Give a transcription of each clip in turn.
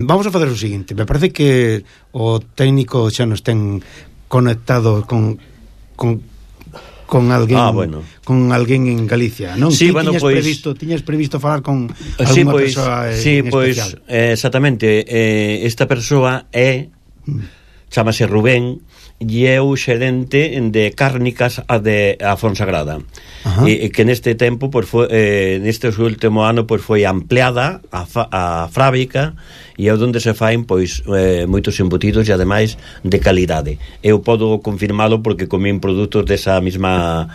Vamos a fazer o seguinte, me parece que o técnico xa nos ten conectado con alguén, bueno, con alguén en Galicia, non? Sí, bueno, tiñas previsto falar con algunha persoa en especial. Exactamente, esta persoa chamase Rubén e é o xerente de cárnicas a Fonsagrada. E que neste tempo, neste último ano, foi ampliada a fábrica e é onde se faen moitos embutidos e ademais de calidade. Eu podo confirmalo porque comín produtos desa mesma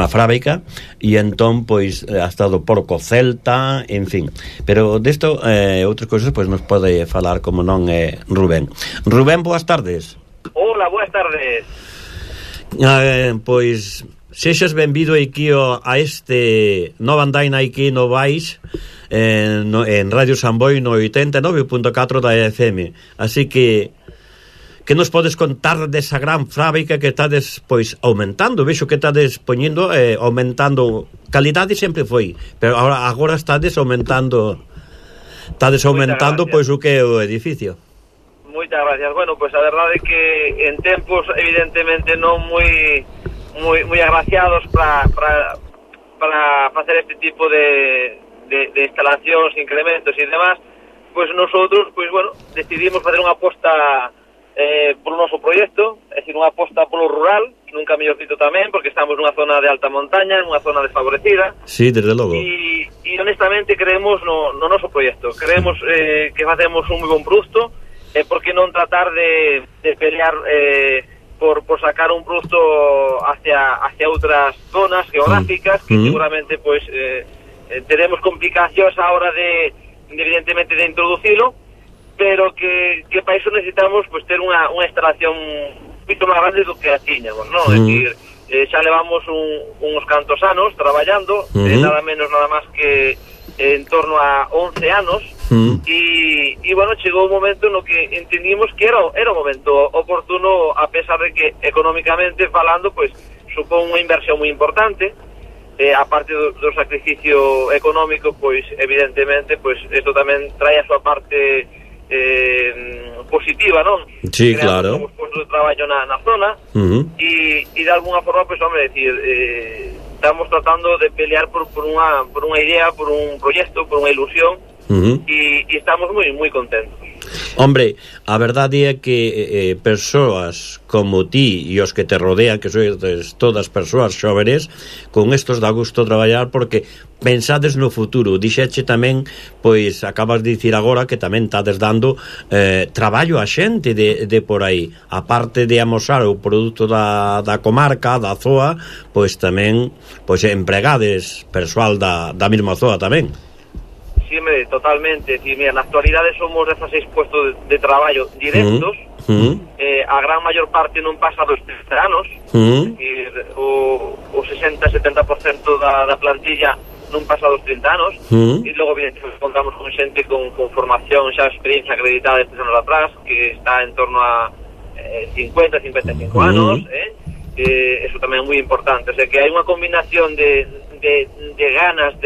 fábrica e entón ha estado porco celta, en fin. Pero desto outras cousas nos pode falar, como non, Rubén. Rubén, boas tardes. Hola, buenas tardes. Sexas benvido aquí a este nova andaina aquí no Vais en Radio Samboy no 89.4 da FM. Así que nos podes contar desa gran fábrica que estades aumentando? Vexo que estades poñendo aumentando calidade, sempre foi, pero agora estades aumentando o que é o edificio. Moitas gracias. Bueno, a verdade é que en tempos evidentemente non moi agraciados para facer este tipo de instalacións, incrementos e demás, nosotros decidimos facer unha aposta polo noso proxecto, é dicir, unha aposta polo rural, nunca mellor dito tamén, porque estamos nunha zona de alta montaña, nunha zona desfavorecida. Sí, desde logo. E honestamente creemos no noso proxecto. Creemos que facemos un moi bon produto, por que non tratar de pelear por sacar un produto hacia outras zonas geográficas que seguramente teremos complicacións a hora de evidentemente de introducilo, pero que para iso necesitamos ter unha instalación moito máis grande do que a tiñamos, non? É dicir, xa levamos uns cantos anos traballando, nada menos nada máis que en torno a 11 anos, e chegou un momento no que entendimos que era o momento oportuno, a pesar de que económicamente falando supón unha inversión moi importante, aparte do sacrificio económico, evidentemente isto tamén trae a súa parte positiva, non? Sí, claro. Creamos postos de traballo na zona, e de alguna forma, estamos tratando de pelear por unha idea, por un proxecto, por unha ilusión, e estamos moi contentos. Hombre, a verdade é que persoas como ti e os que te rodean, que sois todas persoas xóvenes, con estos dá gusto traballar porque pensades no futuro. Dixeche tamén, acabas de dicir agora que tamén estades dando traballo a xente de por aí, aparte de amosar o produto da comarca, da zoa, tamén empregades persoal da mesma zoa tamén. Sí, totalmente. Sí, mira, na actualidade somos 16 puestos de traballo directos. A gran maior parte non pasa dos 30 anos. O 60-70% da plantilla non pasa dos 30 anos. E logo, evidentemente, contamos con xente con formación, xa experiencia acreditada de 3 anos atrás, que está en torno a 50-55 anos. Eso tamén é moi importante. O sea, que hai unha combinación de ganas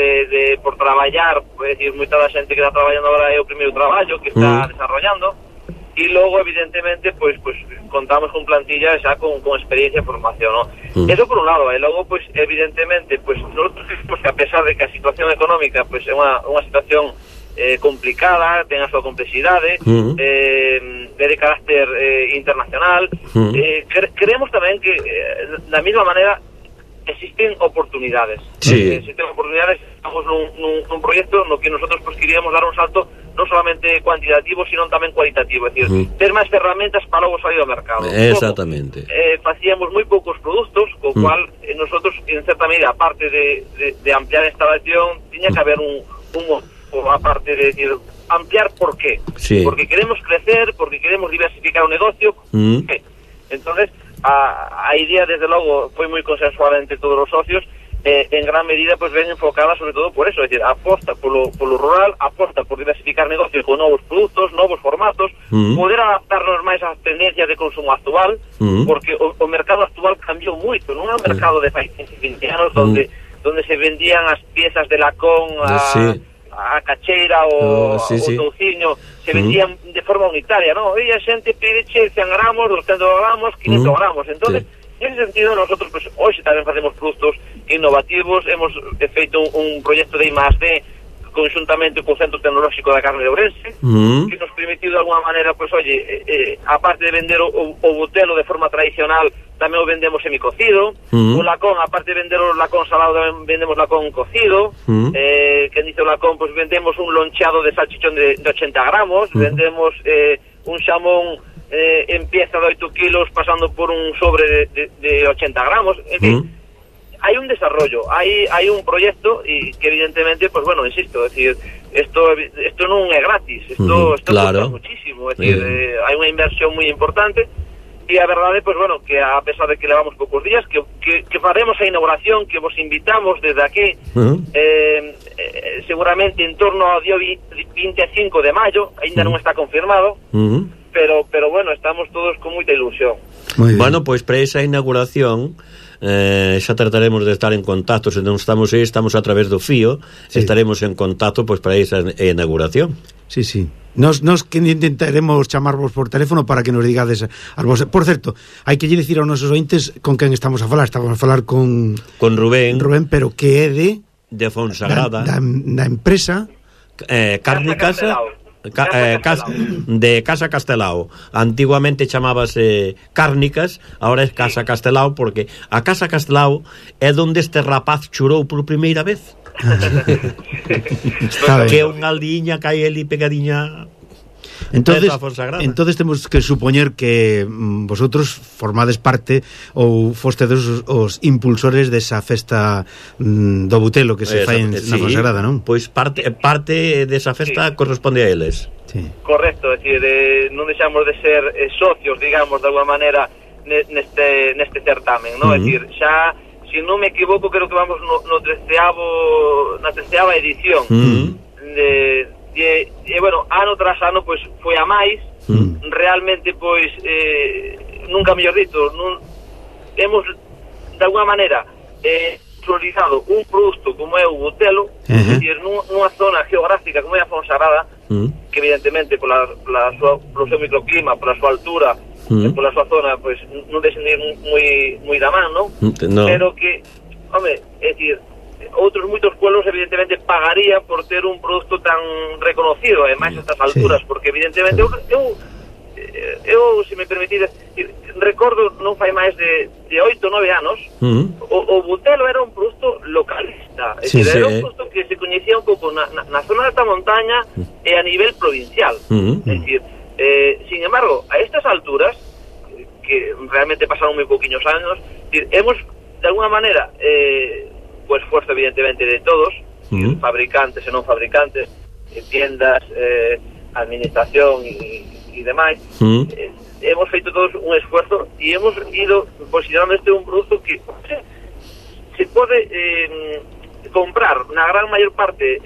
por traballar, é dicir, moita da xente que está traballando agora é o primeiro traballo que está desarrollando, e logo evidentemente contamos con plantilla xa con experiencia e formación, ¿no? Eso por un lado, e logo evidentemente nosotros creemos que a pesar de que a situación económica é unha situación complicada, ten a súa complexidade, é de carácter internacional, creemos tamén que da mesma maneira existen oportunidades. Sí. Existen oportunidades. Estamos nun proxecto no que nosotros queríamos dar un salto non solamente cuantitativo, sino tamén cualitativo, é dicir, ter máis ferramentas para logo salir ao mercado. Exactamente. Facíamos moi poucos produtos, co cual nosotros, en certa medida, aparte de ampliar a instalación, tiña que haber un aparte de decir, ampliar por qué? Sí. Porque queremos crecer, porque queremos diversificar o negocio. Entonces, a idea, desde logo, foi moi consensuada entre todos os socios, en gran medida ven enfocada sobre todo por eso, é dicir, aposta polo rural, aposta por diversificar negocios con novos produtos, novos formatos, poder adaptarnos máis ás tendencias de consumo actual, porque o mercado actual cambiou moito, non é un mercado de 20 anos onde se vendían as piezas de lacón a cacheira o touciño se vendían de forma unitaria, ¿no? E a xente pide 100 gramos, 200 gramos, 500 gramos. Entonces, en ese sentido, nosotros, pues, hoxe tamén facemos produtos innovativos. Hemos feito un proxecto de I+D conjuntamente co Centro Tecnolóxico da Carne de Ourense, que nos permitiu de alguna maneira, pues, aparte de vender o butelo de forma tradicional, tamén o vendemos semicocido. O lacón, aparte de vender o lacón salado, tamén vendemos lacón cocido. Que dice o lacón, pues vendemos un loncheado de salchichón de 80 gramos, vendemos un xamón en pieza de 8 kilos pasando por un sobre de 80 gramos. En fin, hay un desarrollo, hay un proyecto y que evidentemente, pues bueno, insisto, es decir, esto non é gratis, esto claro, cuesta muchísimo, es decir, hai unha inversión moi importante. E a verdade, pues bueno, que a pesar de que levamos poucos días, que faremos a inauguración, que vos invitamos desde aquí, seguramente en torno ao día 25 de maio, ainda non está confirmado, pero bueno, estamos todos con moita ilusión. Bueno, pois para esa inauguración xa trataremos de estar en contacto. Se non estamos aí, estamos a través do fío, estaremos en contacto pois para esa inauguración. Sí. Nos que intentaremos chamarvos por teléfono para que nos digades as vos. Por certo, hai que lle dicir aos nosos ointes con quen estamos a falar. Estamos a falar con Rubén, pero que é de Fonsagrada, da empresa Carne Casa de Casa Castelao. Antiguamente chamábase Cárnicas, ahora é Casa Castelao, porque a Casa Castelao é onde este rapaz chorou por primeira vez. Que é unha aldiña que hai ali pegadiña. Entonces temos que supoñer que vosotros formades parte ou fostedes os impulsores desa festa do butelo que se fai na Fonsagrada, non? Pois parte desa festa corresponde a eles. Correcto, é dicir, non deixamos de ser socios, digamos, de alguma maneira neste certamen, non? É dicir, xa, se non me equivoco, creo que vamos na 13ª edición. E bueno, ano tras ano, pois foi a máis. Realmente, pois nunca mellor dito, hemos de alguna maneira priorizado un produto como é o butelo, é dicir, nunha zona geográfica como é a Fonsagrada, que evidentemente polo seu microclima, pola súa altura, pola súa zona, pois non deixen de ir moi da man, non? Pero que, home, é dicir, outros moitos pueblos evidentemente pagarían por ter un produto tan reconocido, ademais a estas alturas, porque evidentemente eu se me permitides, recordo non fai máis de 8 ou 9 anos, o butelo era un produto localista, é dicir, era un produto que se coñecía un pouco na zona de alta montaña e a nivel provincial. É dicir, sin embargo, a estas alturas, que realmente pasaron moi pouquiños anos, hemos de alguna maneira o esfuerzo evidentemente de todos, fabricantes e non fabricantes, tiendas, administración e demais, hemos feito todos un esfuerzo e hemos ido posicionando un produto que se pode comprar na gran maior parte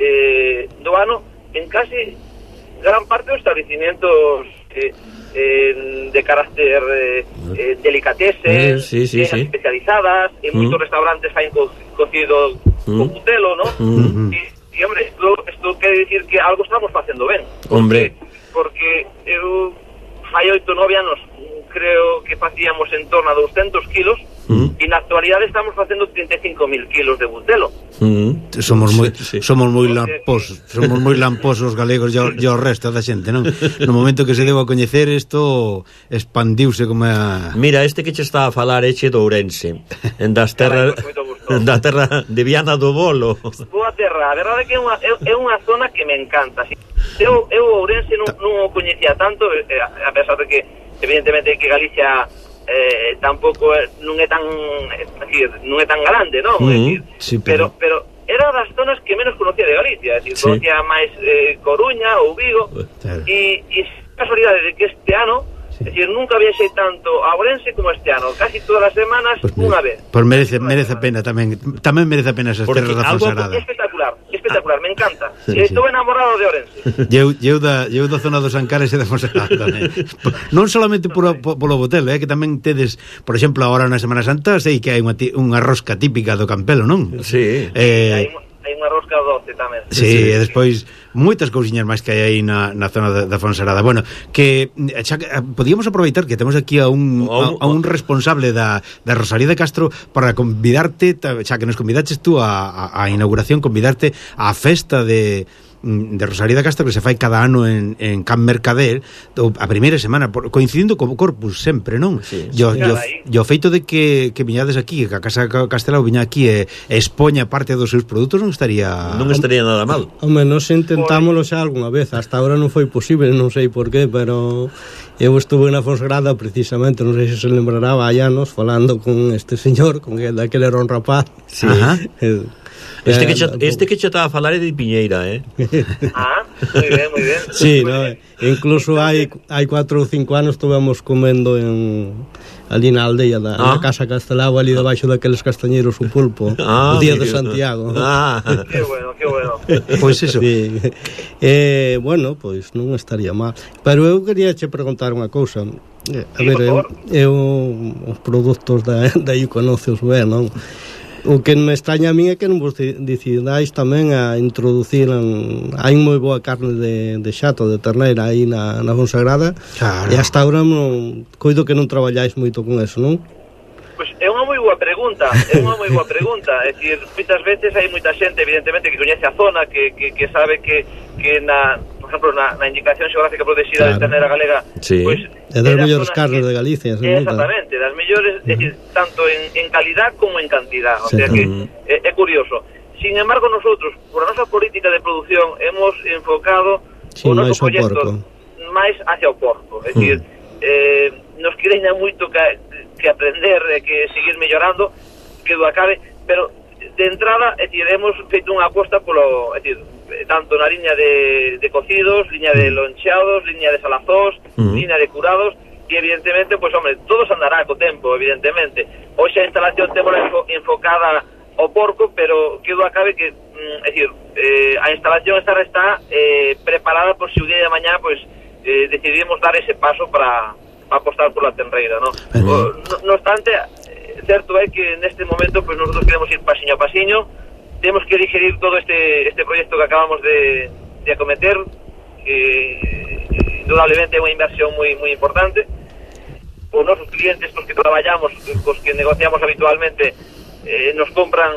do ano en casi gran parte dos establecimientos de carácter delicatessen, especializadas, en moitos restaurantes hai cocido con butelo, ¿no? E hombre, isto quere dicir que algo estamos facendo ben. Porque eu fai 8 ou 9 anos creo que facíamos en torno a 200 kilos e na actualidade estamos facendo 35.000 kilos de butelo. Somos moi lamposos galegos e o resto da xente, non? No momento que se deu a coñecer, isto expandiuse como a... Mira, este que che estaba a falar é de Ourense, das terras da terra de Viana do Bolo. Boa terra, a verdade é que é unha zona que me encanta. Eu Ourense non o coñecía tanto, a pesar de que evidentemente que Galicia tampouco non é tan grande, non? Pero era das zonas que menos conocía de Galicia, é dicir, conocía máis Coruña ou Vigo, e casualidade de que este ano, é dicir, nunca viaxei tanto a Ourense como este ano, casi todas as semanas, unha vez. Pois merece a pena tamén merece a pena esas terras da Fonsagrada. Espectacular, me encanta. Estou enamorado de Ourense. Eu da zona dos Ancares e da Fonsagrada. Non solamente polo botelo, que tamén tedes, por exemplo, agora na Semana Santa, sei que hai unha rosca típica do Campelo, non? Sí. hai unha rosca doce tamén. Sí, e despois moitas cousiñas máis que hai aí na zona da Fonsagrada. Bueno, que xa podíamos aproveitar que temos aquí a un responsable da Rosalía de Castro para convidarte, xa que nos convidaches tú a inauguración, convidarte á festa de Rosalía de Castro que se fai cada ano en Can Mercader a primeira semana, coincidindo co Corpus sempre, non? Sí, o feito de que viñades aquí, que a Casa Castelao viña aquí e expoña parte dos seus produtos non estaría nada mal. Home, nos intentámoslo xa algunha vez, hasta agora non foi posible, non sei por qué, pero eu estuve na Fonsagrada precisamente, non sei se se lembrará, hai anos, falando con este señor, con que daquele era un rapaz. Sí. Ajá. Este que che estaba a falar é de Piñeira, moi ben. Sí, no, incluso hai 4 ou 5 anos estuvemos comendo ali na aldea na Casa Castelao, ali debaixo daqueles castañeiros o pulpo, o día de Santiago. Que bueno. Pois eso. Sí. Bueno, pois non estaría mal. Pero eu quería che preguntar unha cousa. A ver, eu os produtos da Iconocios ben, non? O que me extraña a mí é que non vos decidáis tamén a introducir hai moi boa carne de xato, de terneira aí na Fonsagrada, claro. E hasta agora coido que non traballáis moito con eso, non? Pois é unha moi boa pregunta, é dicir, moitas veces hai moita xente evidentemente que coñece a zona, que sabe que por exemplo, na indicación xeográfica protegida, claro, de ternera galega, sí, pois é das mellores carnes de Galicia, exactamente, das mellores, é dicir, tanto en calidad como en cantidad, o sea que é curioso. Sin embargo, nosotros, por a nosa política de producción, hemos enfocado o noso proxecto máis hacia o porco, é dicir, nos quereña moito que aprender, que seguir mellorando, que do acabe, pero de entrada, é dicir, hemos feito unha aposta polo, é dicir, tanto na liña de cocidos, liña de loncheados, liña de salazós, liña de curados, e evidentemente, pois, hombre, todo se andará co tempo, evidentemente. Hoxe a instalación temos enfocada ao porco, pero que do acabe que, é dicir, a instalación está preparada por se o día de mañá, pois, decidimos dar ese paso para apostar por la tenreira, ¿no? No obstante, certo é que neste momento, pois, nosotros queremos ir pasiño a pasiño. Temos que digerir todo este proxecto que acabamos de acometer, que indudablemente é unha inversión moi importante. Os nosos clientes cos que traballamos, cos que negociamos habitualmente, nos compran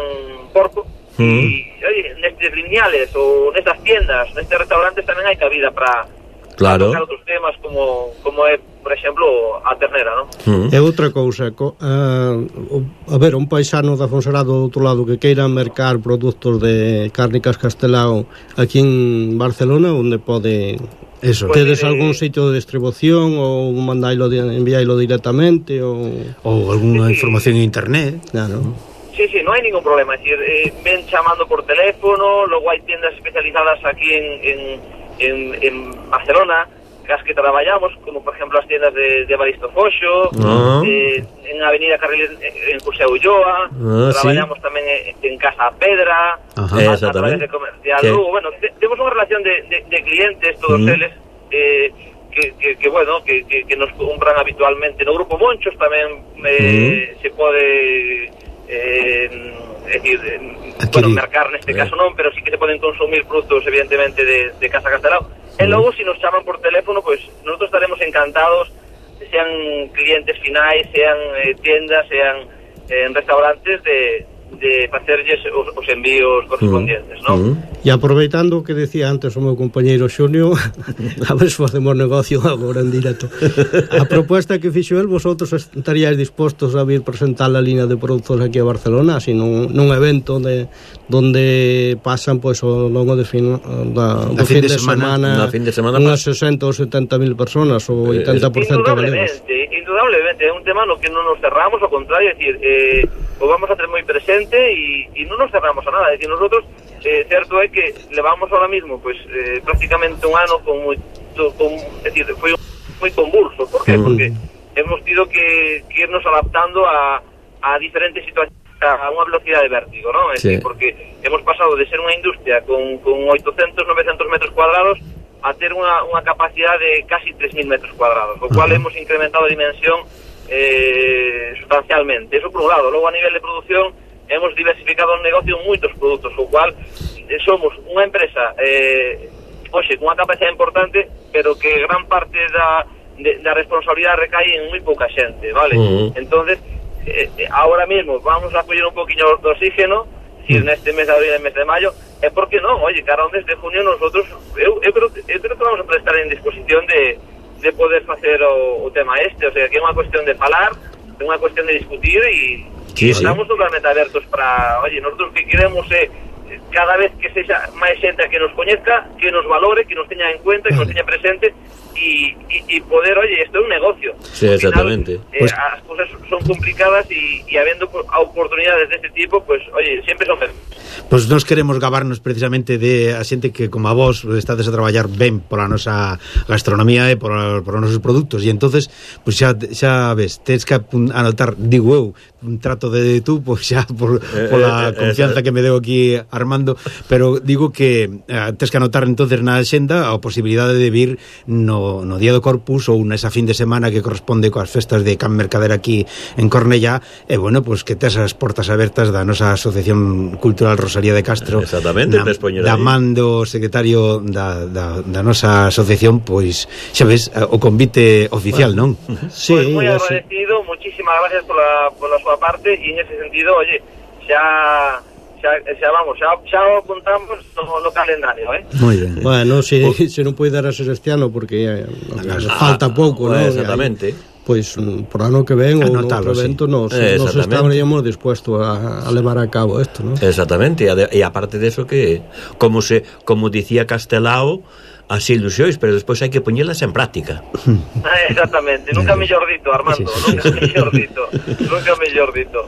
porco, e nestes lineales ou nestas tiendas, nestes restaurantes tamén hai cabida para tocar outros temas como é, por exemplo, a ternera, non? E outra cousa, a ver, un paisano da Fonsagrada do outro lado que queira mercar produtos de Cárnicas Castelao aquí en Barcelona, onde pode... Eso. Tedes algún sitio de distribución ou enviáilo directamente ou algunha información en internet? Claro. Sí, non hai ningún problema, é dicir, ven chamando por teléfono, logo hai tiendas especializadas aquí en Barcelona, as que traballamos, como por exemplo as tiendas de Baristo Foxo, en Avenida Carriles en José Ulloa, traballamos tamén en Casa Pedra, a través de Comercial Lugo. Bueno, temos unha relación de clientes, todos eles, que bueno, que nos compran habitualmente. No Grupo Monchos tamén se pode bueno, mercar neste caso non, pero sí que se poden consumir produtos evidentemente de Casa Castelao. E logo, se nos chaman por teléfono, pois nosotros estaremos encantados, sean clientes finais, sean tiendas, sean restaurantes, de facerlles os envíos correspondientes, non? E aproveitando o que decía antes o meu compañeiro Xunio, a ver se facemos negocio agora en directo. A proposta que fixo el, vosotros estaríais dispostos a vir presentar a línea de produtos aquí a Barcelona, así nun evento donde pasan pois ao longo de fin de semana unhas 60 ou 70 mil personas ou 80% galegos. Indudablemente, é un tema no que non nos cerramos, ao contrario, é dicir, o vamos a ter moi presente e non nos cerramos a nada. É dicir, nosotros, certo é que levamos ahora mismo, pues, prácticamente un ano é dicir, foi moi convulso. Por qué? Porque hemos tido que irnos adaptando a diferentes situacións, a unha velocidade de vértigo, ¿no? É dicir, porque hemos pasado de ser unha industria con 800, 900 metros cuadrados a ter unha capacidade de casi 3.000 metros cuadrados, o cual hemos incrementado a dimensión sustancialmente. Eso por un lado. Logo, a nivel de producción, hemos diversificado o negocio en moitos produtos, o cual somos unha empresa hoxe con unha capacidade importante, pero que gran parte da responsabilidade recae en moi pouca xente, vale? Entonces, ahora mismo vamos a coller un poquinho de oxígeno, si neste mes de abril e mes de maio, e por que non? Oye, cara, desde junio nosotros, eu creo que vamos a estar en disposición de poder facer o tema o sea, que é unha cuestión de falar, é unha cuestión de discutir e estamos totalmente abertos para, oye, nosotros que queremos cada vez que sexa máis xente a que nos coñezca, que nos valore, que nos teña en cuenta, que nos teña presente y poder, oye, esto es un negocio. Sí, exactamente. Pues, as cosas son complicadas y habendo oportunidades de este tipo, pues, oye, siempre son Pois nós queremos gabarnos precisamente de a xente que, como a vos, estades a traballar ben pola nosa gastronomía e por os nosos produtos, e entonces, pois xa ves, tens que anotar, digo eu, un trato de tú, pois xa pola confianza que me deu aquí Armando, pero digo que tens que anotar entonces na axenda a posibilidade de vir no Día do Corpus ou nesa fin de semana que corresponde coas festas de Can Mercader aquí en Cornellá, e bueno, pois que tes as portas abertas da nosa Asociación Cultural Rosalía de Castro, exactamente, da mando secretario da nosa asociación, pois xa ves, o convite oficial, non? Sí, pues moi agradecido, muchísimas gracias pola súa parte, e en ese sentido, oye, xa apuntamos no calendario, Moi ben. Bueno, se non pode dar a ser este ano porque falta pouco, non? Exactamente. Pois por ano que ven ou no outro evento nos estaríamos dispuestos a levar a cabo isto, non? Exactamente, e aparte de eso que como dicía Castelao, as ilusións, pero despois hai que poñelas en práctica. Exactamente, nunca mellor dito, Armando, nunca mellor dito.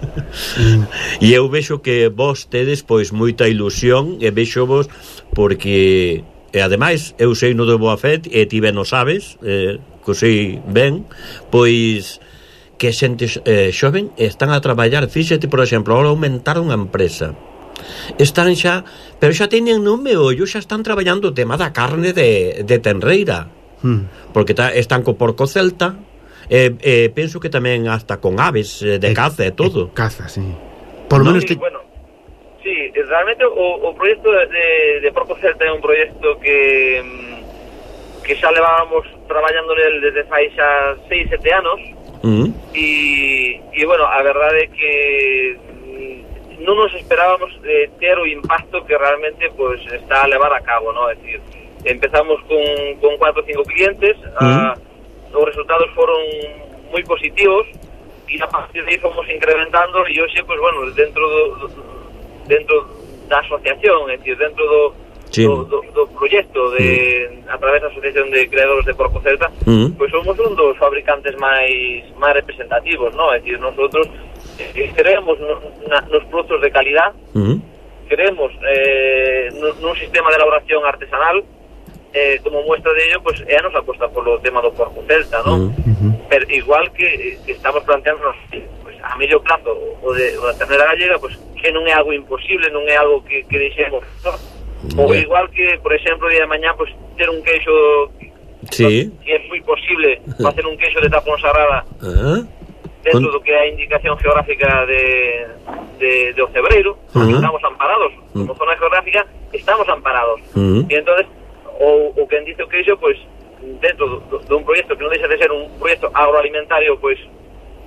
E eu vexo que vos tedes pois moita ilusión, e vexo vos porque e ademais eu sei no de boa fe e ti ben o sabes, que sei ben, pois que xente xoven están a traballar. Fíxate, por exemplo, ahora aumentaron a empresa, están xa, pero xa teñen no meollo, xa están traballando o tema da carne de tenreira, porque están co porco celta, penso que tamén hasta con aves de caza e todo. Caza, sí. Por lo menos bueno, sí, realmente o proxecto de porco celta é un proxecto que xa levábamos traballando nel desde fai xa 6-7 anos, e bueno, a verdade é que non nos esperábamos ter o impacto que realmente pues está a levar a cabo, ¿no? Es decir, empezamos con 4 o 5 clientes, os resultados foron moi positivos e a partir de aí fomos incrementando e hoxe, pues bueno, dentro da asociación, es decir, dentro do proxecto a través da Asociación de Creadores de Porco Celta, pues somos un dos fabricantes máis representativos, ¿no? Es decir, nosotros creemos nos produtos de calidad, creemos nun sistema de elaboración artesanal, como muestra de ello, pues é a nosa aposta polo tema do porco celta, ¿no? Pero igual que estamos planteándonos pues, a medio plazo o da ternera gallega, pues que non é algo imposible, non é algo que deixemos, ¿no? Ou igual que, por exemplo, día de mañá, pues ter un queixo, que é moi posible facer un queixo de tapón sarrada dentro do que é a indicación geográfica de Ocebreiro. Estamos amparados, como zona geográfica estamos amparados, e entonces o que dice o queixo, pues dentro dun proxecto que non deixa de ser un proxecto agroalimentario, pues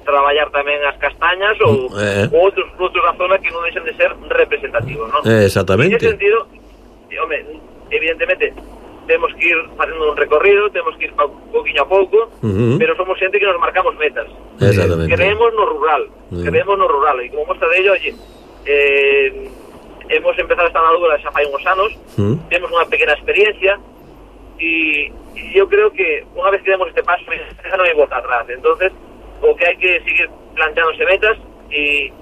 traballar tamén as castañas ou outros produtos da zona que non deixan de ser representativos, ¿no? Exactamente. En ese sentido, home, evidentemente temos que ir facendo un recorrido, temos que ir pouquinho a pouco, pero somos xente que nos marcamos metas. Creemos no rural, e como mostra de ello, oye, hemos empezado esta andadura xa fai uns anos, temos unha pequena experiencia, e eu creo que unha vez que demos este paso, xa non hai volta atrás. Entonces, o que hai que seguir planteándose metas, e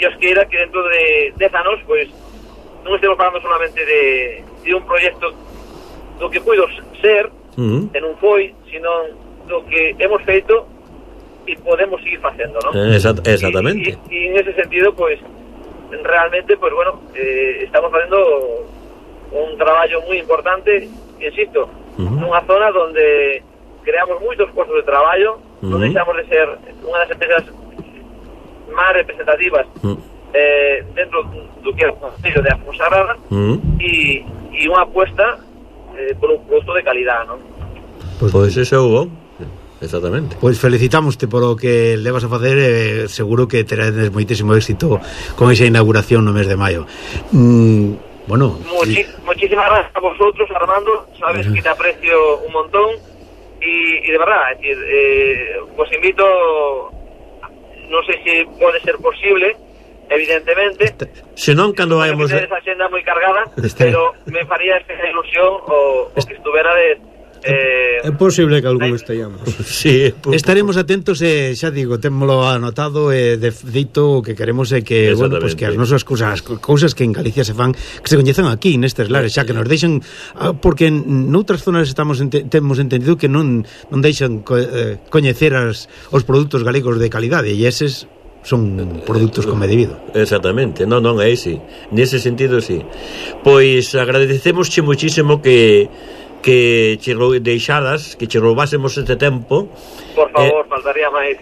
Dios queira que dentro de 10 anos, pues, non estemos falando solamente de un proxecto do que puido ser, e non foi, sino do que hemos feito e podemos seguir facendo, ¿no? Exactamente. E en ese sentido, pues, realmente, pues bueno, estamos facendo un traballo moi importante, insisto, nunha zona donde creamos moitos postos de traballo, non deixamos de ser unha das empresas máis representativas dentro do que é o Concello de Afonsagrada e unha apuesta por un produto de calidad, non? Pois ese é o bom. Exactamente. Pois felicitámoste polo que levas a facer, seguro que terás moitísimo éxito con esa inauguración no mes de maio. Bueno, muchísimas gracias a vosotros, Armando, sabes que te aprecio un montón y de verdad, es decir, os invito, no sé si puede ser posible, evidentemente, se non cando vayamos esa xenda moi cargada, pero me faría especial ilusión o que estuverades. É posible que algún estallamos. Sí, estaremos atentos e xa digo, témolo anotado e de feito o que queremos é que, bueno, pues que as nosas cousas que en Galicia se fan, que se coñezan aquí nestes lares, xa que nos deixan, porque noutras zonas temos entendido que non deixan coñecer os produtos galegos de calidade e eses son produtos como é debido. Exactamente, non é así. Nese sentido, sí. Pois agradecemosche muchísimo que che deixaras, que che roubásemos este tempo. Por favor, faltaría máis.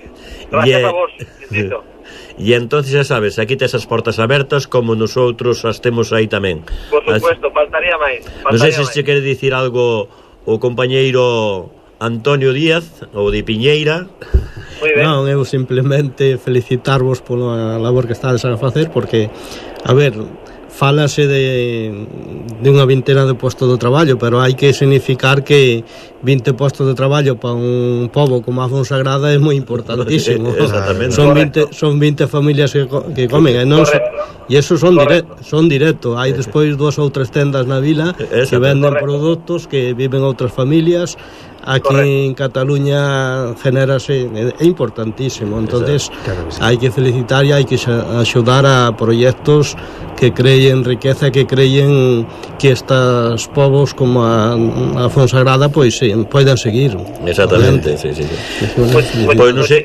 Gracias a vos, insisto. E entonces xa sabes, aquí tes as portas abertas como nosotros as temos aí tamén. Por supuesto, faltaría máis. Non sei se che quere dicir algo o compañeiro Antonio Díaz ou de Piñeira. Non, eu simplemente felicitarvos pola labor que estades a facer, porque, a ver, fálase de unha vintena de postos de traballo, pero hai que significar que 20 postos de traballo para un pobo como a Fonsagrada é moi importantísimo. Exactamente. Son 20 familias que comen, e eso son directo. Hai despois 2 ou 3 tendas na vila que venden produtos que viven outras familias. Aquí en Cataluña genérase, é importantísimo. Entonces hai que felicitar e hai que axudar a proxectos que creen riqueza, que creen que estos povos como a Fonsagrada pois poidan seguir. Exactamente, sí. Pois non sei.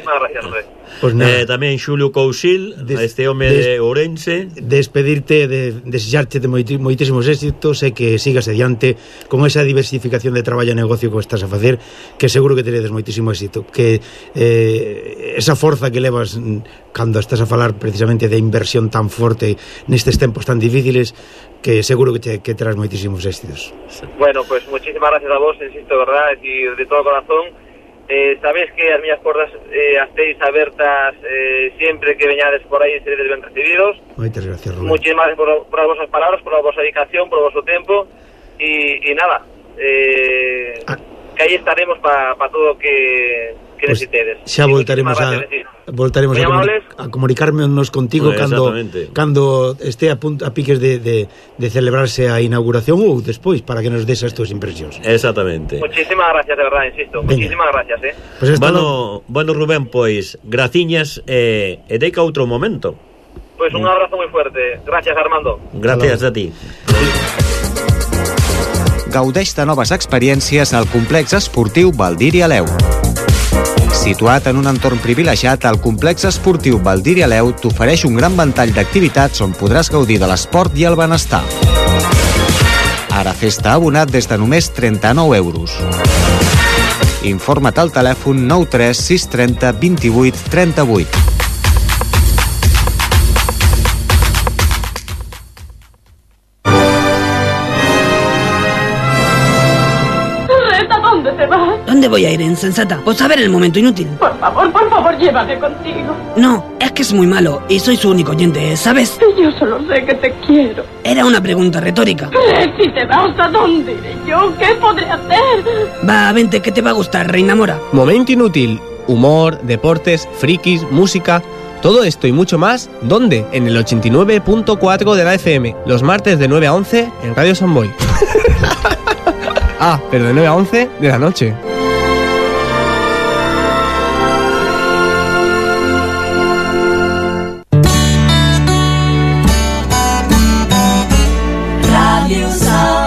Pues tamén Xulio Cousil, este home de Ourense. Despedirte, desexarte de moitísimos éxitos e que sigas adiante con esa diversificación de traballo e negocio que estás a facer, que seguro que teredes moitísimo éxito, que esa forza que levas cando estás a falar precisamente de inversión tan forte nestes tempos tan difíciles, que seguro que terás moitísimos éxitos. Bueno, pues muchísimas gracias a vos, insisto, verdad, y de todo corazón. Sabéis que as miñas portas estéis abertas siempre que veñades por aí, seredes ben recibidos. Moitas gracias, Rubén. Muchísimas gracias por as vosas palabras, por a vosa dedicación, por o vosso tempo e nada, que aí estaremos para todo o que necesitedes. Xa voltaremos a comunicarnos contigo cando este a piques de celebrarse a inauguración ou despois, para que nos des as túas impresións. Exactamente. Muchísimas gracias, de verdad, insisto. Muchísimas gracias, pues bueno, Rubén, pois graciñas e deica outro momento. Pues un abrazo moi fuerte. Gracias, Armando. Gracias a ti. Gaudeix de noves experiències al complex esportiu Valdir i Aleu. Situat en un entorn privilegiat, el complex esportiu Valdir i Aleu t'ofereix un gran ventall d'activitats on podràs gaudir de l'esport i el benestar. Ara fes-te abonat des de només 39 euros. Informa't al telèfon 93 630 28 38. ¿Dónde voy a ir, insensata? Pues a ver el momento inútil. Por favor, llévame contigo. No, es que es muy malo y soy su único oyente, ¿sabes? Yo solo sé que te quiero. Era una pregunta retórica. Si te vas, ¿a dónde iré yo? ¿Qué podré hacer? Va, vente, que te va a gustar, Reina Mora. Momento inútil. Humor, deportes, frikis, música... Todo esto y mucho más, ¿dónde? En el 89.4 de la FM, los martes de 9 a 11 en Radio Samboy. Pero de 9 a 11 de la noche. Radio Samboy.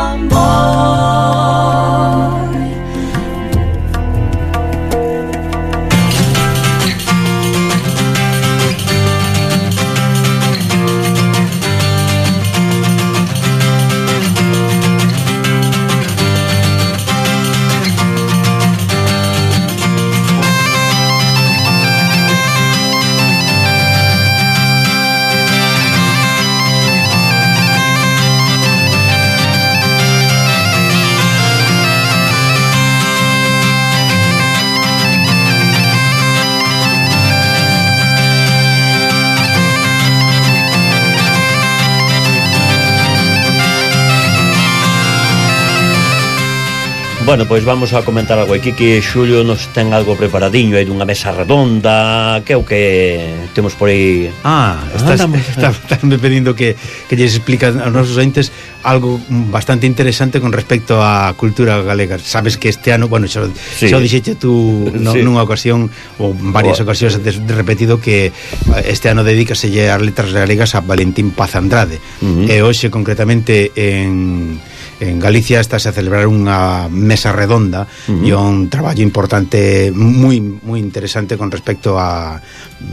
Bueno, pois vamos a comentar algo aquí, que Xulio nos ten algo preparadiño aí dunha mesa redonda, que é o que temos por aí. Estás me pedindo que lles explica aos nosos ointes algo bastante interesante con respecto á cultura galega. Sabes que este ano, bueno, xa dixeche tú nunha ocasión ou varias ocasións de repetido que este ano dedícaselle as letras galegas a Valentín Paz Andrade. E hoxe concretamente en Galicia estáse a celebrar unha mesa redonda e un traballo importante moi interesante con respecto a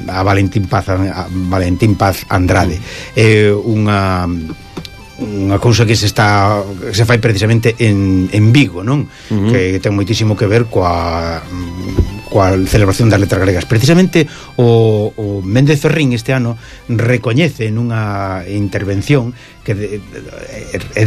Valentín Paz Andrade. É unha cousa que se fai precisamente en Vigo, non? Que ten moitísimo que ver coa celebración das letras galegas. Precisamente o Méndez Ferrín este ano recoñece nunha intervención que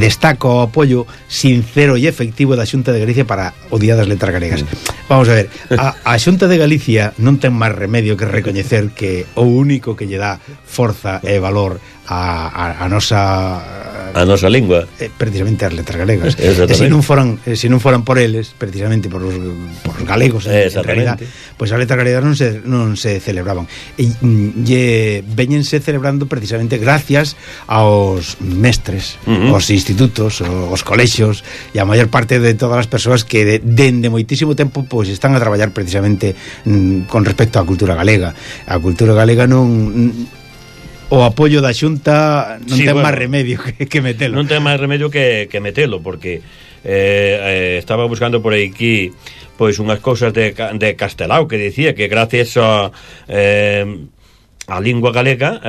destaca o apoio sincero e efectivo da Xunta de Galicia para o Día das Letras Galegas. Vamos a ver, a Xunta de Galicia non ten máis remedio que recoñecer que o único que lle dá forza e valor a nosa lingua, precisamente as letras galegas. E se non foran por eles, precisamente por os galegos en realidad, pois as letras galegas non se celebraban. E veñense celebrando precisamente gracias aos mestres, aos institutos, aos colexios e a maior parte de todas as persoas que dende moitísimo tempo pois están a traballar precisamente con respecto á cultura galega. A cultura galega o apoio da Xunta non ten máis remedio que metelo. Non ten máis remedio que metelo, porque estaba buscando por aquí pois unhas cousas de Castelao que dicía que gracias a lingua galega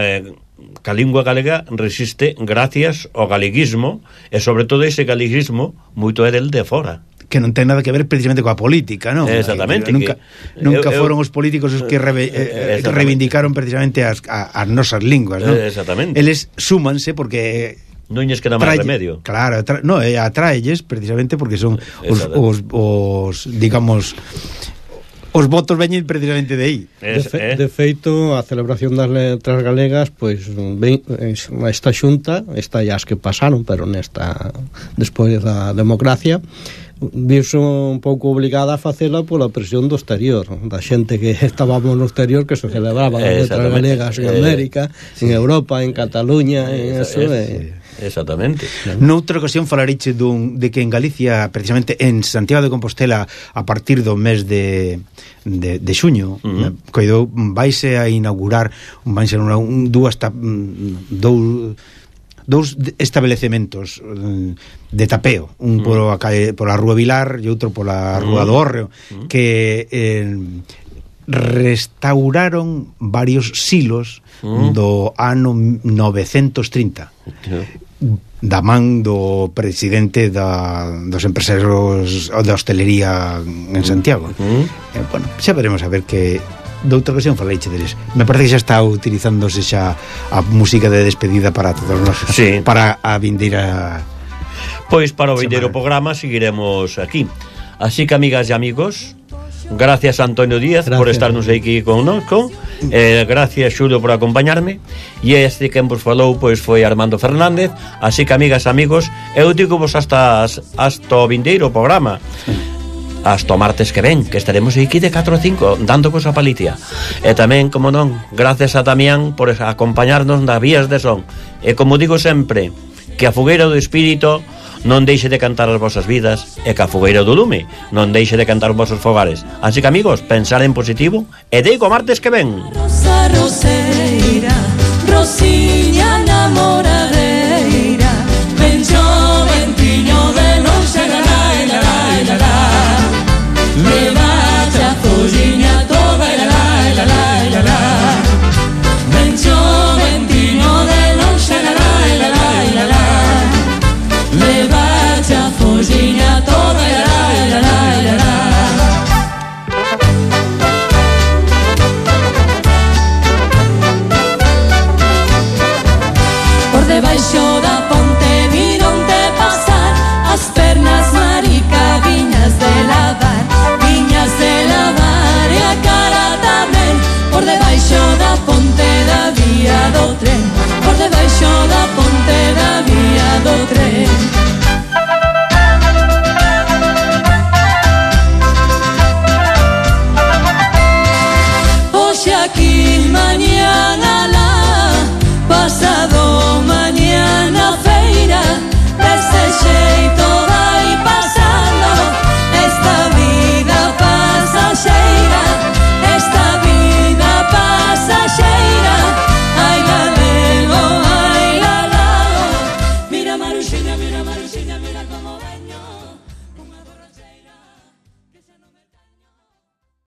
que a lingua galega resiste gracias ao galeguismo, e sobre todo ese galeguismo moito é del de fora, que non ten nada que ver precisamente coa política, non? Exactamente. Nunca foron os políticos os que reivindicaron precisamente as nosas linguas, non? Exactamente. Eles súmanse porque non lles queda máis remedio. Claro, atraelles precisamente porque son os digamos, os votos veñen precisamente de aí. De feito, a celebración das letras galegas, pois esta xunta, esta as que pasaron, pero despois da democracia, viuse un pouco obligada a facela pola presión do exterior, da xente que estábamos no exterior, que se celebraban as letras galegas en América, en Europa, en Cataluña, en eso. Exactamente. Noutra ocasión falareiche de que en Galicia, precisamente en Santiago de Compostela, a partir do mes de xuño, coidou, vaise a inaugurar dous establecementos de tapeo, un pola Rúa Vilar e outro pola Rúa do Hórreo, que restauraron varios silos do ano 930 da man do presidente dos empresarios da hostelería en Santiago. Bueno, xa veremos a ver que doutra ocasión faleiche deles. Me parece que xa está utilizándose xa a música de despedida para todos nós, para a vindeira. Pois para o vindeiro programa seguiremos aquí. Así que, amigas e amigos, gracias a Antonio Díaz por estarnos aquí connosco, gracias Xulio por acompañarme, e este que vos falou pois foi Armando Fernández. Así que, amigas e amigos, eu digo vos hasta o vindeiro programa, hasta o martes que ven, que estaremos aquí de 4 a 5 dando cosa palitia. E tamén, como non, gracias a Damián por acompañarnos nas vías de son. E como digo sempre, que a fogueira do espírito non deixe de cantar as vosas vidas, e que a fogueira do lume non deixe de cantar os vosos fogares. Así que, amigos, pensar en positivo e digo martes que ven. Rosa roseira, Rosiña namora.